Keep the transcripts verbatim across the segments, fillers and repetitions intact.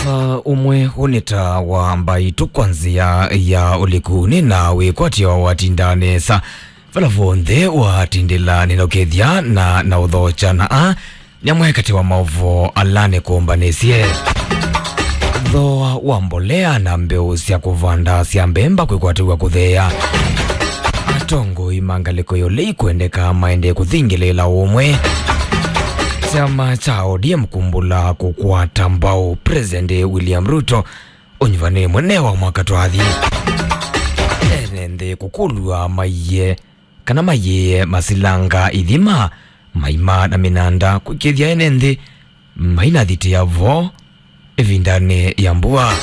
Ah, ũmwe ũnĩ ta wa mbaitũ kwa nzĩa ya ũliku nĩ na wĩkwatyo watinda nesa. Vala vonthe watindĩla nĩnokethya na, na ũthokya na a nyamwe katĩ wa maũvoo ala nĩkũmbanĩsye. Thooa wa mbolea na mbeũ sya kũvanda sya mbemba kwĩkwatĩw'a kũtheea. Atongoi ma ngalĩko ya ũlei kwendeka maendee kũthingĩlĩĩla ũmwe. Kyama kya O D M kumbũla kũkwata mbau President William Ruto ũnyuvanĩ mũnene wa mwaka twathi. Ene nthĩ kũkũlw'a maiye kana mayĩe masilanga ithima, maima na mĩnanda kwĩkĩthya ene nthĩ mainathitĩa vo ĩvindanĩ ya mbua.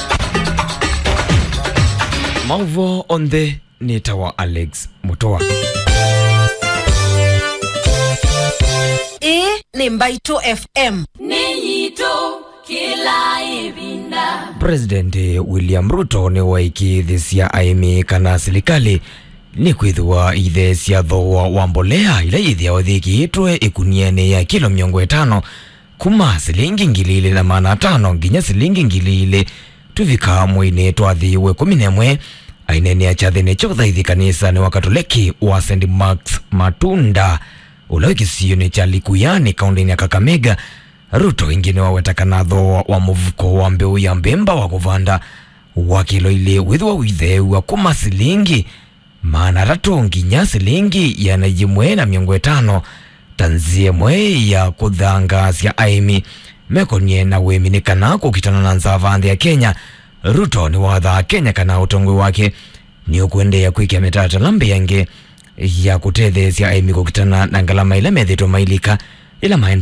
Maũvoo onthe nĩ ta wa Alex Mũtũa. Ĩĩ nĩ Mbaitũ F M. Nĩ yitũ kĩla ĩvinda. President William Ruto nĩwaĩkĩĩthĩsya aĩmi kana silikalĩ nĩkwĩthĩwa itheesya thooa wa mbolea ila yĩthĩawa yĩthĩĩtwe ĩkunianĩ ya kilo mĩongo ĩtano kuma silingi ngili ilĩ na maana atano nginya silingi ngili ilĩ tũvika mweinĩ twathi wa ĩkũmi na ĩmwe. Aineenea kyathĩnĩ kya ũthaithi kanisanĩ wa Katoleki wa Saint Mark's Matunda, ũla wĩ kĩsionĩ kya Likuyani, kaũntĩnĩ ya Kakamega, Ruto ĩngĩ nĩwaweta kana thooa wa mũvuko wa mbeũ ya mbemba wa kũvanda wa kilo ilĩ wĩthĩwa ũitheew'a kuma silingi maana atatũ nginya silingi ĩana yĩmwe na mĩongo ĩtano, ta nzĩa ĩmwe ya kũthangaasya aĩmi mekonie na ũĩmi nĩ kana kũkitana na nzava nthĩ ya Kenya. Ruto nĩwathaa Kenya kana ũtongoi wake nĩũkũendeea kwĩkĩa mĩtalatala mbĩange ya kũtetheesya aĩmi kũkitana na ngalama ila methĩĩtwe mailika ĩla maendee